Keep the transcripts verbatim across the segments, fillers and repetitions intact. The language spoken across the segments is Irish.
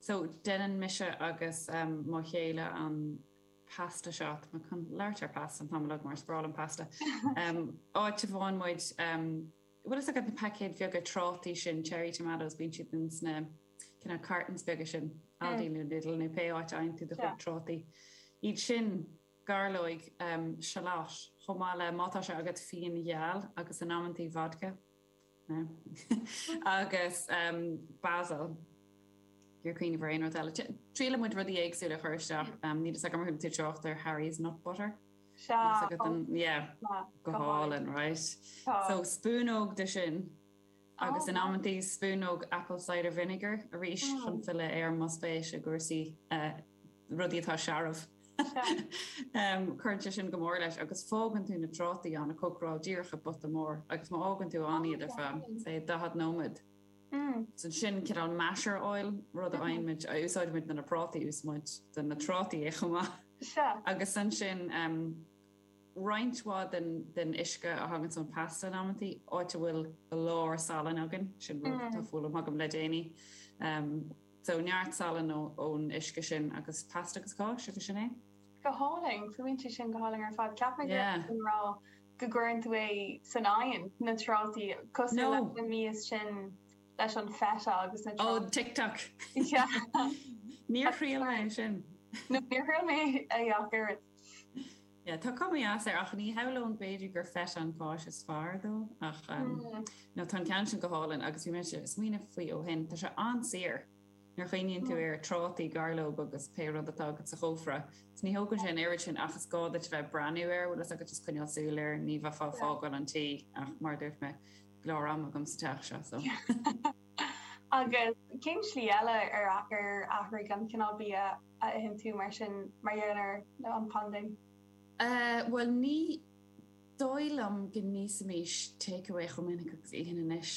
So déanann mise agus um, mo chéile an pasta seo ma chun labhairt ar pasta an t-am uilig mar is breá liom pasta. Um, áit a bhfaigheann muid um, bhfuil fhios agat na paicéid bheaga trátaí sin cherry tomatoes bíonn siad in sna cineál cartons beaga sin Aldi nó Lidl nó pé áit a fhaigheann tú do chuid trátaí. Iad sin gairleoig um, shallot chomh maith le má tá sé agat fíon geal agus in amantaí vodka. No. agus um, basil. Gur cuimhin ar aon rud eile. Triaileann muid rudaí éagsúla a chur isteach um, níl fhios agam ar chuala tú trácht ar Harry's nut butter. Sea yeah, go hálainn, right? So spúnóg de sin agus in amantaí spúnóg apple cider vinegar arís chun filleadh ar mo spéis i gcúrsaí uh, rudaí atá searbh. um, Cuireann sé sin go mór leis agus fágann tú na trátaí ann ag cócaráil díreach i bpota mór agus má fhágann tú ann iad ar feadh sé daichead nóiméad. So sin cineál masher oil rud a fhaighimid a úsáidimid na prátaí úsáid de na trátaí é chomh maith. Agus ansin um, roinnt mhaith den, den uisce a thagann ón pasta in amantaí áit a bhfuil go leor salann againn sin rud atá foghlamtha agam le déanaí. Um, so neart salann ón uisce sin agus pasta agus cáis agus sin é. Go hálainn fuaimníonn sé sin go hálainn ar fad ceap mé rá go gcuireann tú é san oigheann na trátaí cosúil leis na mias sin leis an feta agus na Ó TikTok. Níor thriail mé sin. No níor thriail mé é ach oiread. Yeah, tá cuma dheas air ach ní shamhlóinn b'fhéidir gur feta an cáis is fearr dó ach um, no tá an ceann sin go hálainn agus bhí mé smaoineamh faoi ó shin Tá sé an-saor nuair a chuimhníonn tú ar trátaí gairleog agus pé rud atá agat sa chófra. Ní thógann sé an oiread sin ach is gá duit bheith breathnú air bhfuil agat just coinneáil súil air ní bheifeá ag fágáil an tí ach mar dúirt mé go leor am agam sa teach seo so. Agus cén slí eile ar ar athraigh an cineál bia a itheann tú mar sin mar gheall ar an bpaindéim? Uh, well ní dóigh liom go n-íosfaimis takeaway chomh minic agus itheann anois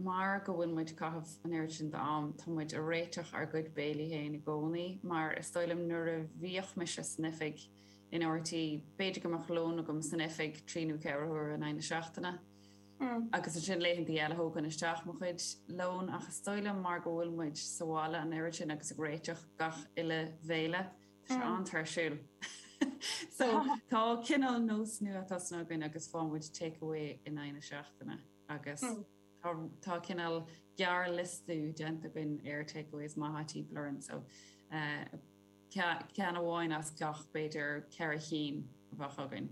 mar go bhfuil muid caitheamh an oiread sin d'am tá muid ag réiteach ár gcuid béilí féin i gcónaí mar is dóigh liom nuair a bhíodh mise san oifig in RTÉ b'fhéidir go mbeadh lón agam san oifig trí nó ceithre huaire in aghaidh na seachtaine. Agus ansin laethanta eile thógainn isteach mo chuid lón ach is dóigh liom mar go bhfuil muid sa bhaile an oiread sin agus ag réiteach gach uile bhéile Tá sé an-tuirsiúil. So tá cineál nós nua tosaithe againn agus faigheann muid takeaway in aghaidh na seachtaine agus tá tá cineál gearrliosta déanta againn ar takeaways maithe timpeall orainn so uh, ceann amháin as gach b'fhéidir ceithre chinn a bheadh againn.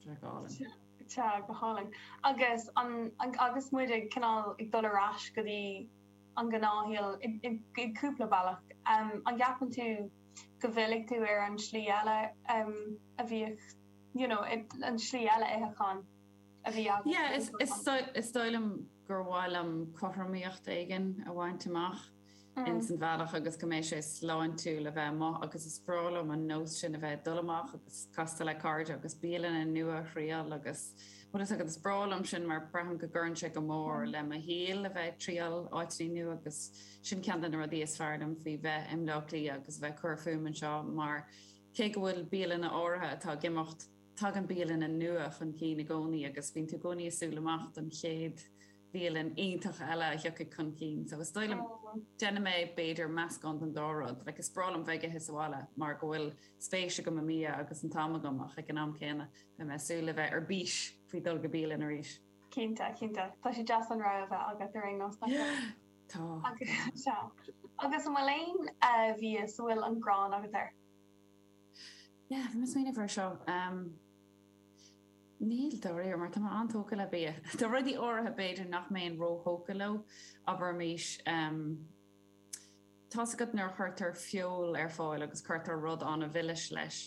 Tá go hálainn. Tá go hálainn. Agus an, agus muid ag cineál ag dul ar ais go dtí an gnáthshaol i gcúpla bealach. Um, an gceapann tú go bhfillfidh tú ar an slí eile um, a bhíodh you know, an slí eile itheacháin a bhí agat? Yeah, is, is, is dóigh liom gur mhaith liom cothromaíocht éigin a bhaint amach in san bhealach agus go mbeidh sé sláintiúil a bheith amuigh agus is breá liom an nós sin a bheith dul amach agus castáil le cairde agus bialanna nua a thriail agus bhfuil fhios agat is breá liom sin mar braithim go gcuireann sé go mór le mo shaol a bheith ag triail áiteanna nua agus sin ceann de na rudaí is fearr liom faoi bheith i mBleá Cliath agus a bheith ag cur fúm anseo mar cé go bhfuil bialanna áirithe atá ag imeacht tagann bialanna nua chun cinn i gcónaí agus bíonn tú i gcónaí ag súil amach don chéad bhialann iontach eile a thiocfaidh chun cinn. So is dóigh liom déanfaidh mé b'fhéidir meascán den dá rud, like is breá liom bheith ag ithe sa bhaile mar go bhfuil spéis agam i mbia agus an t-am agam ach ag an am céanna beidh mé ag súil le bheith ar bís faoi dul go bialann arís. Cinnte, cinnte. Tá sé deas an rogha a bheith agat ar aon nós Tá. Agus agus an bhfuil aon uh, bhia a bhfuil an ghráin agat air? Yeah, bhí mé ag smaoineamh air seo. Um, Níl dáiríre mar tá mé an-tógtha le bia. Tá rudaí áirithe b'fhéidir nach mbeinn róthógtha leo, abraimis um, Tá's agat nuair a chuirtear feoil ar fáil agus cuirtear rud an-mhilis leis.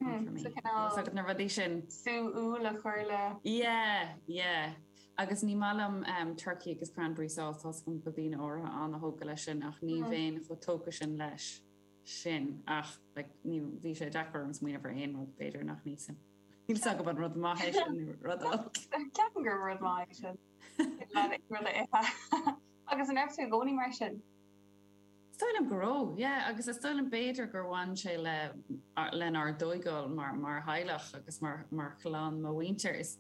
Hmm, so cineál agat na rudaí sin. Sú úll a chur le. Yeah, yeah. Agus ní maith liom um, turkey agus cranberry sauce tá's agam go daoine áirithe an-tógtha leis sin ach ní bheinn chomh tógtha sin leis sin ach like, ní bhí sé deacair orm smaoineamh ar aon rud b'fhéidir nach n-íosfainn. Níl fhios agam an rud maith é sin nó rud olc. Ceapaim gur rud maith é sin. Rud a ithe. Agus an raibh tú i gcónaí mar sin? Is dóigh liom go raibh, yeah, agus is dóigh liom b'fhéidir gur bhain sé le lenár dtógáil mar mar theaghlach agus mar mar chlann mo mhuintir. Is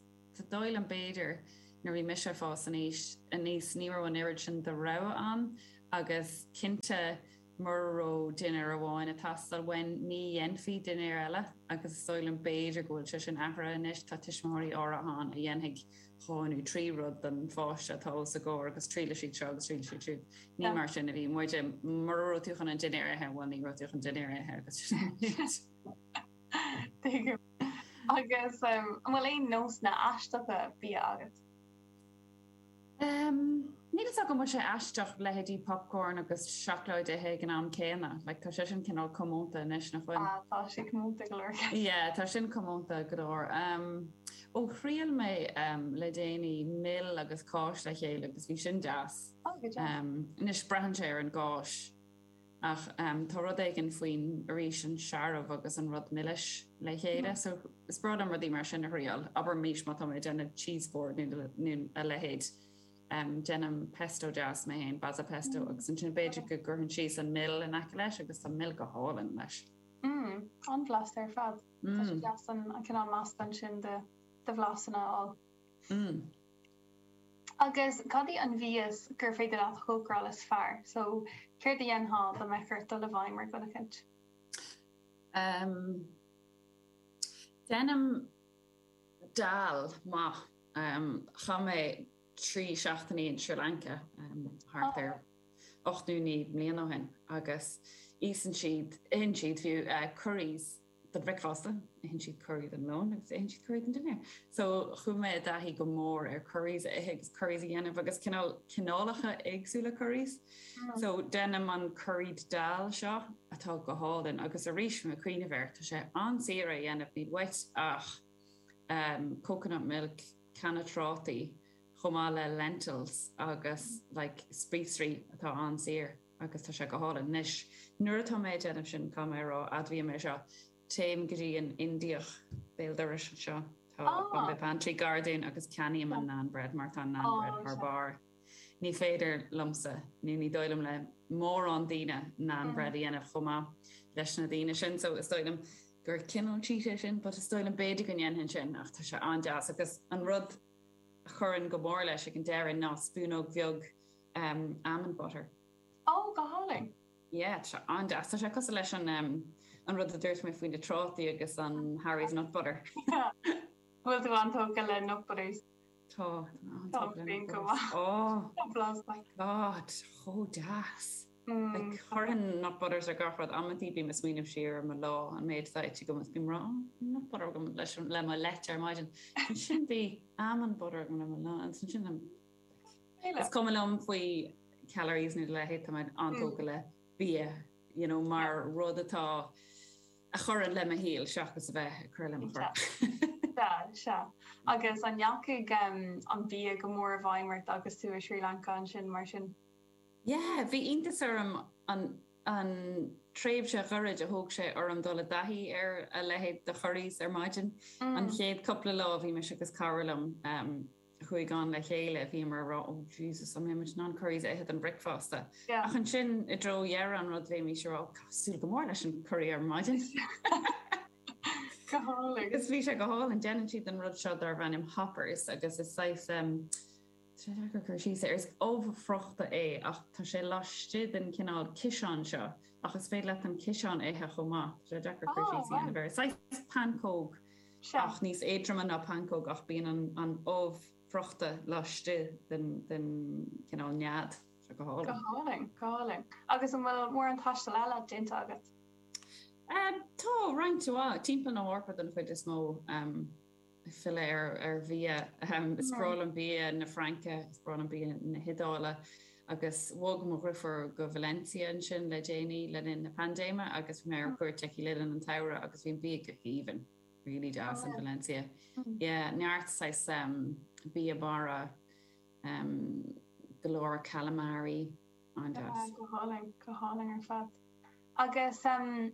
dóigh liom b'fhéidir nuair bhí mise fás aníos aníos ní raibh an oiread sin de rogha ann agus cinnte Mura raibh dinnéar amháin ag teastáil uainn ní dhéanfaí dinnéar eile agus is dóigh liom b'fhéidir go bhfuil sé sin athraithe anois, tá tuismitheoirí áirithe ann a dhéanfaidh dhá nó trí rud don pháiste atá os a gcomhair agus triailfidh siad seo agus triailfidh siad siúd. Ní mar sin a bhí muide, mura raibh tú chun an dinnéar a ithe, bhuel ní raibh tú chun dinnéar a ithe agus sin. Tuigim. Agus an bhfuil aon nósanna aisteacha bia agat? Níl fhios agam an bhfuil sé aisteach leithéidí popcorn agus seacláid a ithe ag an am céanna. Like tá sé sin cineál comónta anois nach bhfuil? Ah tá sé comónta go leor. Yeah tá sin comónta go leor. Ó thriail mé le déanaí mil agus cáis le chéile agus bhí sin deas. Oh go deas. Anois braitheann sé ar an gcáis. Ach tá rud éigin faoin, arís, an searbh agus an rud milis le chéile. So is breá liom rudaí mar sin a thriail. Abraimis má tá mé ag déanamh cheese board nó a leithéid, déanaim pesto deas mé féin, basil pesto, agus ansin b'fhéidir go gcuirfinn síos an mil in aice leis agus tá mil go hálainn leis. Mm, an-bhlasta ar fad. Tá sé deas an cineál meascán sin de bhlasanna a fháil. Mm. Agus cad í an mhias gur féidir leat a chócaráil is fearr? So, céard a dhéanfá dá mbeadh ort dul i bhfeidhm ar dhuine eicint? Um, déanaim dal maith. Um, chaith mé trí seachtainí in Sri Lanka um, thart ar ocht nó naoi mbliana ó shin agus íosann siad, itheann siad fiú uh, curries don bhricfeasta, itheann siad curry don lón agus itheann siad curry don dinnéar. So chuaigh mé i dtaithí go mór ar curries a ithe agus curries a dhéanamh agus cineál cineálacha éagsúla curries. Mm. So déanaim an curried dal seo atá go hálainn agus arís mé ag cuimhneamh air tá sé an-saor a dhéanamh níl uait ach um, coconut milk, canna trátaí, chomh maith le lentils agus like spíosraí atá an-saor agus tá sé go hálainn. Anois nuair atá mé ag déanamh sin caithfidh mé a rá admhaím é seo téim go dtí an Indiach béal dorais anseo tá Bombay Pantry gar dúinn agus ceannaím an naan bread mar tá an naan bread thar barr. Ní féidir liomsa nó ní dóigh liom le mórán daoine naan bread a dhéanamh chomh maith leis na daoine sin so is dóigh liom gur cineál cheat é sin, but is dóigh liom b'fhéidir go ndéanfainn sin ach tá sé an-deas agus an rud a chuireann go mór leis ag an deireadh ná spúnóg bheag um, almond butter. Ó go hálainn. Yeah, tá sé an-deas. Tá sé cosúil leis an um, an rud a dúirt mé faoi na trátaí agus an Harry's nut butter. Bhfuil tú an-tógtha le nut butters? Tá tá Tá go maith. Oh Blasta. God, chomh deas. Mm. Like, chuirfinn nut butters ar gach rud amantaí bím ag smaoineamh siar ar mo lá an méid atá ite agam is bím ag rá nut butter agam leis le mo leite ar maidin. Ansin bhí almond butter agam le mo lá ansin sin Is cuma liom faoi calories nó a leithéid tá mé an-tógtha le bia, you know, mar rud atá a chuireann le mo shaol seachas a bheith ag cur le mo chorp. Sea, sea. Agus an ndeachaigh um, an bia go mór i bhfeidhm ort agus tú i Sri Lanka ansin mar sin? Yeah, bhí iontas orm an an tréimhse ghairid a thóg sé orm dul i dtaithí ar a leithéid de curries ar maidin. An chéad cúpla lá bhí mise agus cara liom um, chuaigh ann le chéile bhí mar rá oh Jesus an mbeimid in ann curries a ithe don bricfeasta. Yeah. Ach ansin i dtreo dheireadh an rud bhí rá cosúil go mór leis an curry ar maidin. Go hálainn. Agus bhí sé go hálainn déanann siad an rud seo darb ainm hoppers agus is saghas um, cur síos air is ubh friochta é ach tá sé laistigh den cineál ciseán seo ach is féidir leat an ciseán a ithe chomh maith Tá sé deacair cur Oh, síos a dhéanamh air. Saghas pancóg Sea. ach níos éadroime ná pancóg ach bíonn an, an ubh friochta laistigh den, den cineál nead Sé go Go hálainn. hálainn, go hálainn. Agus an bhfuil mórán taistil eile déanta agat? Um, tá roinnt mhaith timpeall na hEorpa den chuid is mó um, filleadh ar ar bhia um, is breá liom bia na Fraince, is breá liom bia na hIodáile agus bhog mo dheirfiúr go Valencia ansin le déanaí le linn na paindéime agus bhí mé ar cuairt aici le linn an tsamhraidh agus bhí an bia go haoibhinn really deas in Valencia. Yeah, neart saghas um, bia mara um, go leor calamari an-deas. Go hálainn, go hálainn ar fad. Agus um,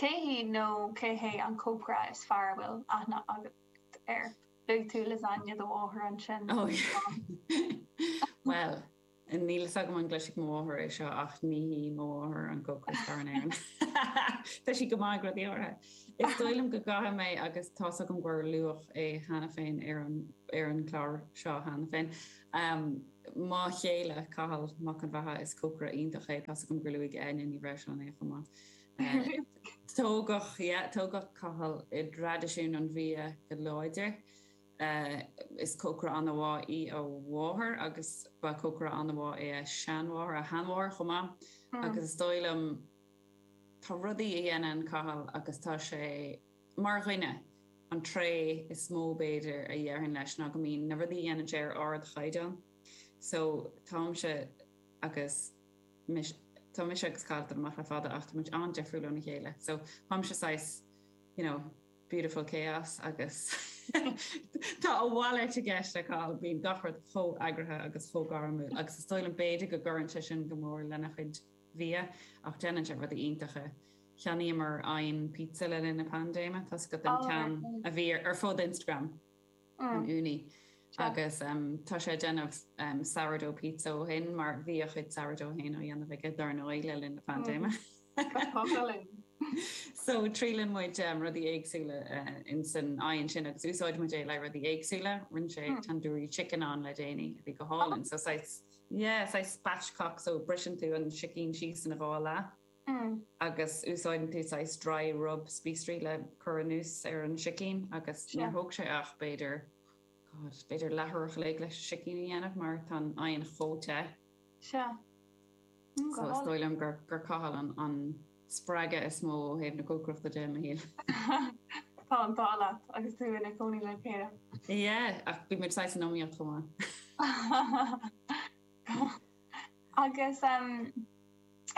cé hí nó cé hé an cócaire is fearr a bhfuil aithne agat air? Luaigh tú lasagne do mháthar ansin. Oh, yeah. Well, níl a fhios agam an gcloisfidh mo mháthair é seo ach ní hí mo mháthair an cócaire is fearr in Éirinn. Tá sí go maith ag rudaí áirithe. Is dóigh liom go gcaithfidh mé agus tá a fhios agam gur luadh é cheana féin ar an ar an chlár seo cheana féin. Um, Mo chéile Cathal Mac an Bheatha is cócaire iontach é tá agam gur luaigh Áine Ní Bhreisleáin é chomh maith. Tógadh yeah, tógadh Cathal i dtraidisiún an bhia go láidir. Uh, is cócaire an-mhaith í a mháthair agus ba cócaire an-mhaith é a seanmháthair a sheanmháthair chomh maith mm. agus is dóigh liom tá rudaí a dhéanann Cathal agus tá sé mar dhuine an tréith is mó b'fhéidir a dhéarfainn leis ná go mbíonn na rudaí a dhéanann sé ar ardchaighdeán. So táimse agus mis, tá mise agus Cathal amach le fada ach muid an-difriúil óna chéile. So táimse saghas you know, beautiful chaos agus tá a mhalairt i gceist le Cathal bíonn gach rud chomh heagraithe agus chomh gairmiúil agus is dóigh liom b'fhéidir go gcuireann sé sin go mór lena chuid bia ach déanann sé rudaí iontacha. Cheannaíomar oigheann pizza le linn na paindéime tá go den ceann a bhí ar fud Instagram an Ooni. Agus um, tá sé déanamh um, sourdough pizza ó shin mar bhí a chuid sourdough féin á dhéanamh aige dar ndóigh le linn na paindéime. So triaileann muid um, rudaí éagsúla uh, in san oigheann sin agus úsáid muid é le rudaí éagsúla, rinne sé mm. tandoori chicken ann le déanaí a bhí go hálainn. So saghas yeah, saghas spatchcock so briseann tú an sicín síos ina dhá leath. Mm. agus úsáideann tú saghas dry rub spíosraí le cur anuas ar an sicín agus níor thóg sé ach b'fhéidir God, b'fhéidir leathuair an chloig leis sicín a dhéanamh mar tá an oigheann chomh te. Se. Mm, So is dóigh liom gur gur Cathal an, an spreagadh is mó ó thaobh na cócaireachta de mo shaol. Tá an t-ádh leat agus tú ina cónaí le chéile. Yeah, ach bhí muid saghas in iomaíocht chomh maith. Agus um,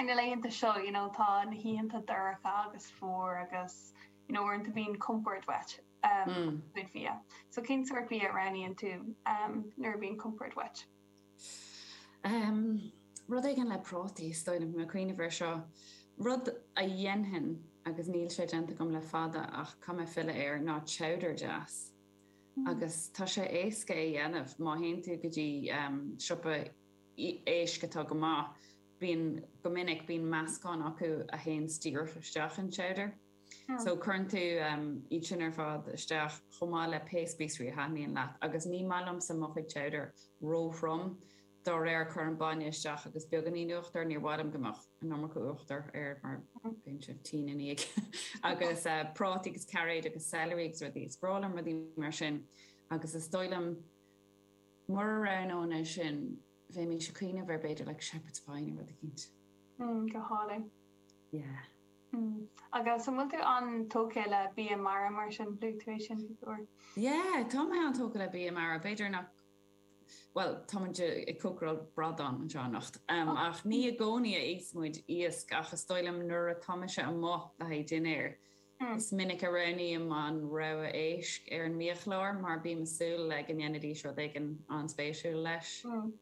na laethanta seo you know, tá na hoícheanta dorcha agus fuar agus you know, uaireanta bíonn compord uait um, Mm. chuid bia. So cén sórt bia a roghnaíonn tú um, nuair a bhíonn compord uait? Um, rud éigin le prátaí is dóigh liom mé cuimhneamh air seo. Rud a dhéanfainn agus níl sé déanta agam le fada ach caithfidh mé filleadh air ná chowder deas. Agus tá sé éasca é dhéanamh má théann tú go dtí um, siopa éisc atá go maith, bíonn go minic bíonn meascán acu a théann díreach isteach in chowder. Mm. So cuireann tú um, iad sin ar fad isteach chomh maith le pé spíosraí a thaitníonn leat, agus ní maith liomsa mo chuid chowder róthrom dá réir cuirim bainne isteach agus beagáinín uachtar níor mhaith liom go mbeadh an iomarca uachtar air mar bíonn sé tinn ina dhiaidh. agus uh, prátaí agus cairéid agus celery agus rudaí is breá liom rudaí mar sin agus is dóigh liom mura roghnóinn é sin bheinn ag cuimhneamh ar b'fhéidir like shepherd's pie nó rud éicint. Mm, go hálainn. Yeah. Mm. Agus an bhfuil tú an-tógtha le bia mara mar sin luaigh tú é sin uair. Yeah, tá mé an-tógtha le bia mara b'fhéidir nach Well tá ag cócaráil bradán anseo anocht. Um, ach ní i gcónaí a íosmuid iasc ach is dóigh liom nuair atá mise amuigh le haghaidh dinnéir. Mm. Is minic a roghnaím an rogha éisc ar an mbiachlár mar bím ag súil le go ndéanfaidís rud éigin an-spéisiúil leis. Mm.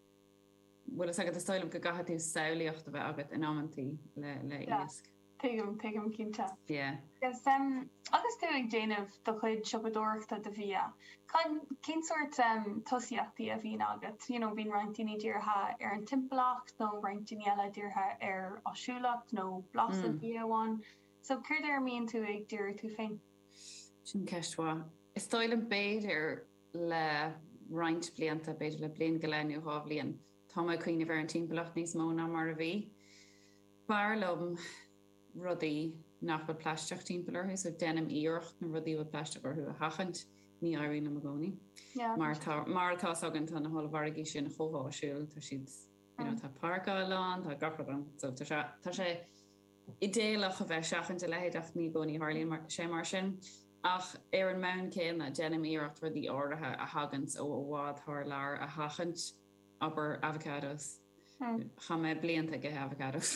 Bhfuil agus is dóigh liom go gcaithfidh tú samhlaíocht a bheith agat in amantaí le le Yeah. iasc. Tuigim tuigim cinnte. Yeah. Agus um, agus tú ag déanamh do chuid siopadóireachta do bhia. Cén sórt um, tosaíochtaí a bhíonn agat, you know, bíonn roinnt daoine dírithe ar an timpeallacht nó roinnt daoine eile dírithe ar áisiúlacht nó blas Mm. bia amháin. So céard ar a mbíonn tú ag díriú tú féin? Sin ceist mhaith. Is dóigh liom b'fhéidir le roinnt blianta b'fhéidir le bliain go leith nó dhá bhliain. Tá mé ag cuimhneamh ar an timpeallacht níos mó ná mar a bhí. B'fhearr liom rudaí nach bhfuil plaisteach timpeall orthu, so déanaim iarracht na rudaí bhfuil plaisteach orthu a sheachaint ní éiríonn liom i gcónaí. Yeah. Mar tá mar atá againn tá na hollmhargaí sin chomh háisiúil tá siad you know, Mm. tá páirceáil ann tá gach rud ann so tá sé tá sé idéalach a bheith seachaint a leithéid ach ní i gcónaí tarlaíonn mar sé mar sin. Ach ar an mbonn céanna déanaim iarracht rudaí áirithe a thagann ó i bhfad thar lear a sheachaint abair avocados. Mm. Chaith mé blianta ag ithe avocados.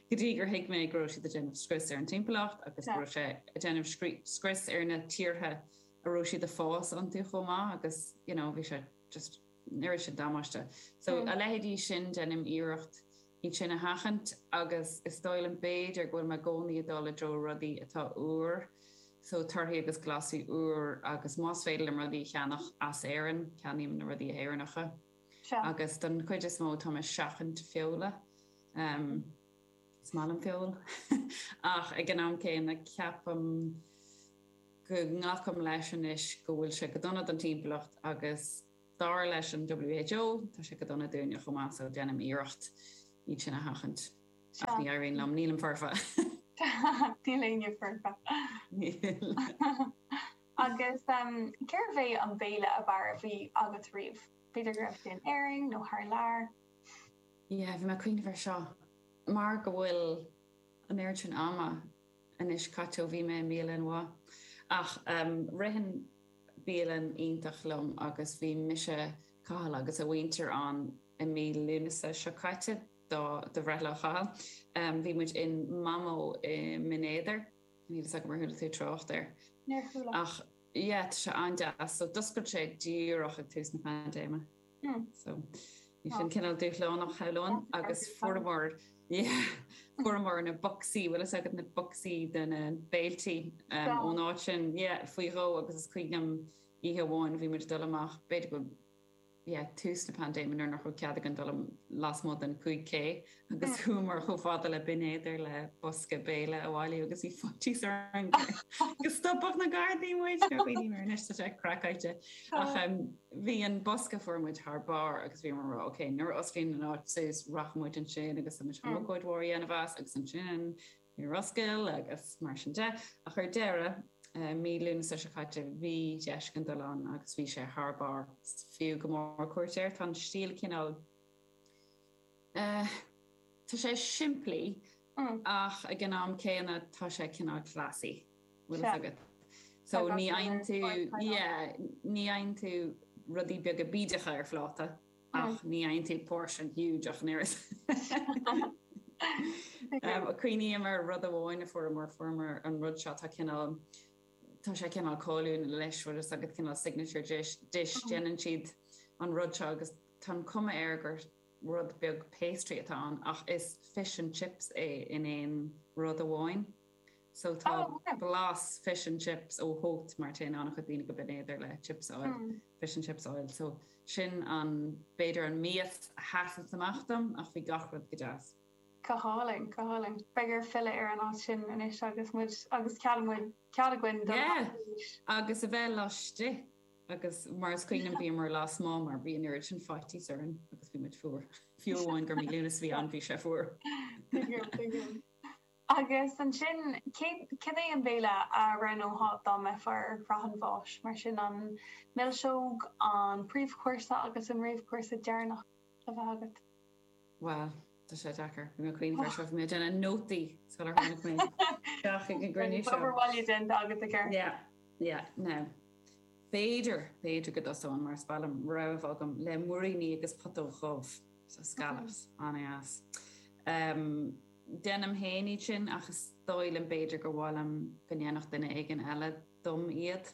Go dtí gur thuig mé go raibh siad ag déanamh scrios ar an timpeallacht agus Yeah. go raibh sé ag déanamh scrí- scrios ar na tíortha a raibh siad ag fás iontu chomh maith agus you know, bhí sé just nuair sin damáiste. So Mm. a leithéidí sin déanaim iarracht iad sin a sheachaint agus is dóigh liom b'fhéidir go bhfuil mé i gcónaí ag dul i dtreo rudaí atá úr, so torthaí agus glasraí úr agus más féidir liom rudaí a cheannach as Éirinn, ceannaím na rudaí Éireannacha. Se. Agus don chuid is mó tá mé ag seachaint feola. Um, is maith liom feoil ach ag an am céanna ceapaim go nglacaim leis anois go bhfuil sé go dona don timpeallacht agus dar leis an WHO tá sé go dona dúinne chomh maith so déanaim iarracht iad sin a sheachaint. Ach ní éiríonn liom nílim foirfe. Níl éinne foirfe. Níl. Agus um, cérbh é an béile ab fhearr a bhí agat riamh? B'fhéidir go raibh sé in Éirinn nó thar lear? Yeah, bhí mé ag cuimhneamh air seo. Mar go bhfuil an oiread sin ama anois caite ó bhí mé i mbialann mhaith. Ach um, ritheann bialann iontach liom agus bhí mise Cathal agus a mhuintir ann i mí Lúnasa seo caite do do bhreithlá Chathail. Um, bhí muid in Mamo i mBinn Éadair. Níl a fhios agam ar chuala tú trácht air. Níor chuala. Ach yeah, tá sé an-deas. So d'oscail sé díreach ag tús na paindéime. Mm. So bhí sin cineál dúshlánach shamhlóinn agus fuaireamar yeah, fuaireamar na bocsaí, bhfuil fhios agat na bocsaí de na béiltí um, ón áit sin yeah, faoi dhó agus is cuimhin liom oíche amháin bhí muid ag dul amach b'fhéidir go yeah, tús na paindéime nuair nach raibh cead againn dul lasmuigh den cúig K agus chuamar chomh fada le Binn Éadair le bosca béile a bhailiú agus bhí faitíos orainn go stopfadh na Gardaí muid ar dhaoine mar anois tá sé craiceáilte. Ach um, bhí an bosca fuair muid thar barr agus bhí mar ok, nuair a osclaíonn an áit suas rachaidh muid ansin agus tá muid chun ócáid mhór a dhéanamh as agus ansin níor oscail agus mar sin de. Ach ar deireadh, mí Lúnasa seo caite bhí deis againn dul ann agus bhí sé thar barr. Is fiú go mór cuairt air. Tá an stíl cineál tá sé simplí ach ag an am céanna tá sé cineál classy. Bhfuil fhios agat. So ní fhaigheann tú yeah, ní fhaigheann tú rudaí beaga bídeacha ar phláta ach ní fhaigheann tú portion huge ach an oiread. Cuimhním ar rud amháin a fuaireamar, fuaireamar an rud seo, tá cineál, tá sé cineál cáiliúil anois, bhfuil fhios agat cineál signature dish, dish, déanann siad an rud seo agus tá an cuma air gur rud beag pastry atá ann ach is fish and chips é in aon rud amháin. So tá blas fish and chips ó Hót mar téann an-chuid daoine go Binn Éadair le chips a fháil, fish and chips a fháil. So sin an, b'fhéidir an mias a sheasann amach dom ach bhí gach rud go deas. Go hálainn, go hálainn. Beidh air filleadh ar an áit sin anois agus muid, agus cead muid, cead againn dul Yeah, arís. agus a bheith laistigh agus mar is cuimhin liom bhíomar lasmuigh mar bhí an oiread sin faitíos orainn agus bhí muid fuar. Fiú amháin gur mí Lúnasa a bhí ann bhí sé fuar. Tuigim, tuigim. Agus ansin, cé, cad é an béile a roghnófá dá mbeifeá ar shraith an bháis? Mar sin an milseog, an príomhchúrsa agus an réamhchúrsa deireanach le bheith agat? Bhuel, tá sé deacair. Bhí mé ag cuimhneamh air seo, bhí mé ag déanamh nótaí sular tháinig mé isteach ag an gcruinniú seo. Obair bhaile déanta agat i gceart. Yeah, yeah, now. B'fhéidir, b'fhéidir go dtosóinn mar is maith liom rogha a bheith agam le muiríní agus putóg dhubh, so scallops, an-deas. Um, déanaim féin iad sin ach is dóigh liom b'fhéidir gur mhaith liom go ndéanfadh duine éigin eile dom iad.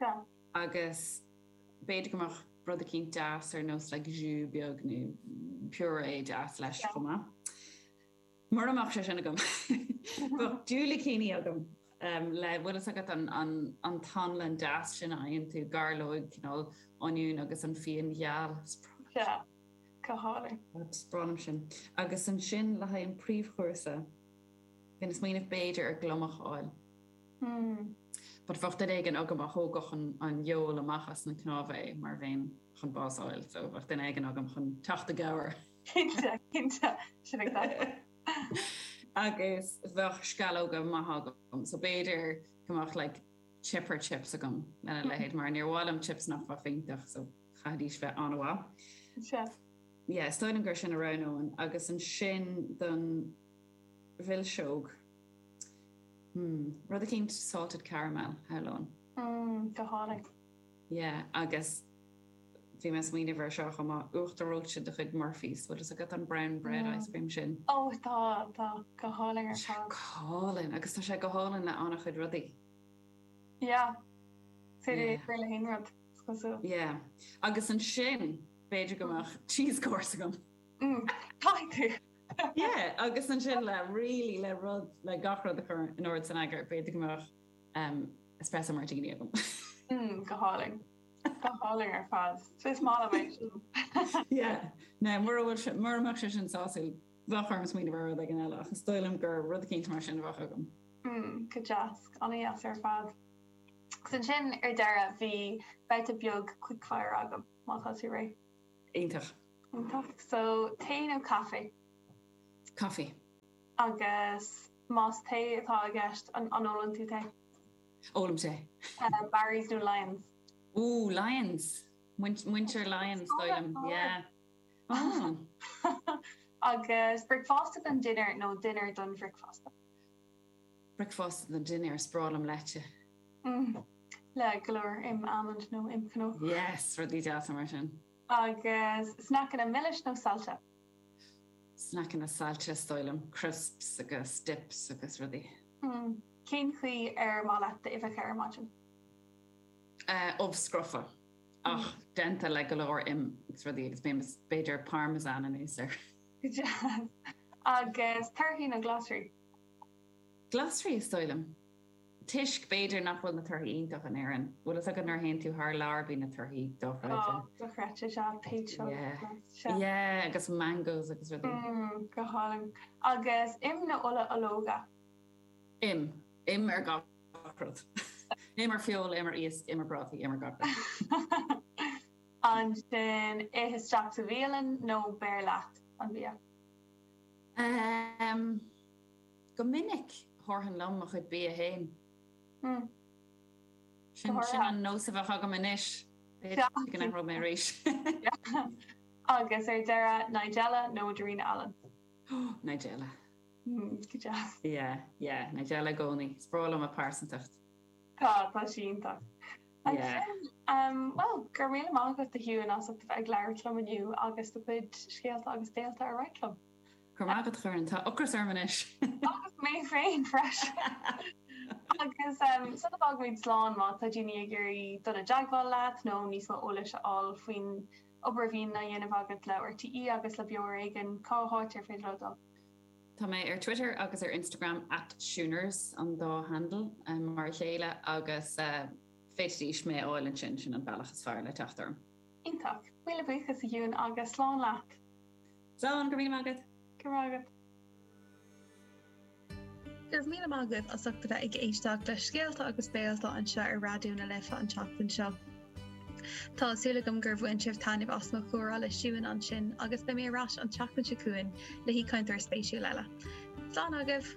Yeah. Agus b'fhéidir go mbeadh rud eicínt deas ar nós like jus beag nó purée deas leis Yeah. chomh maith. Mura mbeadh sé sin agam. Bheadh diúilicíní agam um, le bhfuil fhios agat an, an, an t-anlann deas sin a fhaigheann tú gairleog cineál oinniún agus an fíon gheal. Is breá liom Yeah. Go hálainn. Is breá liom sin. Agus ansin le haghaidh an príomhchúrsa, bhí mé ag smaoineamh b'fhéidir ar gliomach a fháil. Mm. But bheadh duine éigin agam a thógfadh an, an fheoil amach as na cnámha é mar bheinn chun bás a fháil, so bheadh duine éigin agam chun teacht i gcabhair. Cinnte, cinnte. Sin ag teastáil. Agus bheadh sceallóga maithe agam, so b'fhéidir go mbeadh like chipper chips agam lena leithéid mar níor mhaith liom chips nach bheadh iontach, so chaithfidís bheith an-mhaith. Sea. Yeah, is dóigh liom gur sin a roghnóinn. Agus ansin don mhilseog, hmm, rud eicínt salted caramel, shamhlóinn. Mm, go hálainn. Yeah, agus bhí mé ag smaoineamh air seo chomh maith, uachtar reoite de chuid Murphy's, bhfuil fhios agat an brown bread Mm. ice cream sin? Ó, tá, tá, go hálainn ar Tá sé fad. go hálainn, agus tá sé go hálainn le an-chuid rudaí. Yeah. Is féidir é Yeah. chur le haon rud, is cosúil. Yeah. Agus ansin, b'fhéidir go mbeadh cheese course agam. Mm, caithfidh tú. Yeah, agus ansin le really le rud le gach rud a chur in ord san eagar, b'fhéidir go mbeadh um, espresso martini agam. Mm, go hálainn. Go hálainn ar fad. So is maith liom é sin. Yeah. Now, mura bhfuil sé- mura mbeadh sé sin sásúil, bheadh orm smaoineamh ar rud éigin eile, ach is dóigh liom gur rud eicínt mar sin a bheadh agam. Mm, go deas, an-deas ar fad. Agus ansin ar deireadh bhí babhta beag quickfire agam. má tá tú réidh. Iontach. Iontach. So tae nó caife? Coffee. Agus más tae atá i gceist an an ólann tú tae? Ólaim tae. Uh, Barry's nó Lyons? Ooh, Lyons. Muintir Lyons dóilm. Yeah. Oh. Agus bricfeasta don dinnéar nó dinnéar don bhricfeasta? Bricfeasta don dinnéar is breá liom leite. Mm. Le go leor im almond nó im cnó. Yes, rudaí deasa mar sin. Agus sneaiceanna milis nó saillte? Sneaiceanna saillte is dóigh liom, crisps agus dips agus rudaí. Mm. Cén chaoi ar maith leat d'uibheacha ar maidin? Uh, ubh scrofa ach mm. déanta le go leor im agus rudaí agus b'fhéidir parmesan anuas air. Agus torthaí nó glasraí? Glasraí is dóigh liom. Toisc b'fhéidir nach bhfuil na torthaí iontach in Éirinn. Bhfuil fhios agat nuair a théann tú thar lear bíonn na torthaí dochreidte. Dochreidte sea peach Yeah. Yeah, agus mangoes agus rudaí. Mm, go hálainn. Agus im nó ola ológa? Im. Im ar gach rud. Im ar feoil, im ar iasc, im ar prátaí, im ar gach rud. Ansin ith isteach sa bhialann nó beir leat an bia? Um, go minic thabharfainn liom mo chuid bia féin. Mm. Sin sin an nós a bheadh agam anois. B'fhéidir go n-athróidh mé arís. Agus ar deireadh Nigella nó Darina Allen? Nigella. Mm, go deas. Yeah, yeah, Nigella i gcónaí. Is breá liom a pearsantacht. Tá tá sí iontach. Yeah. Um, well, go raibh míle maith agat a Shiúin as ucht a bheith ag labhairt liom inniu agus do chuid scéalta agus béalta a roinnt liom. Go raibh maith agat a Dhoireann, tá ocras orm anois. Agus mé féin freisin. Agus um, sula bhfágaimid slán má tá daoine ag iarraidh dul i dteagmháil leat nó níos mó eolais a fháil faoin obair a bhíonn á dhéanamh agat le RTÉ agus le Beo Ar Éigean, cá háit ar féidir leo dul? Tá mé ar Twitter agus ar Instagram at Shooners an dá handle um, mar a chéile agus uh, féadfaidís mé a fháil ansin sin an bealach is fearr le teacht orm. Iontach. Míle buíochas a Shiúin agus slán leat. Slán go raibh míle maith agat. Go raibh agat. Go raibh míle maith agaibh as ucht a bheith ag éisteacht le scéalta agus béalta anseo ar Raidió na Life an tseachtain seo. Tá súil agam gur bhain sibh taitneamh as mo chomhrá le Siún ansin agus beidh mé ar ais an tseachtain seo chugainn le haoichainteoir spéisiúil eile. Slán agaibh!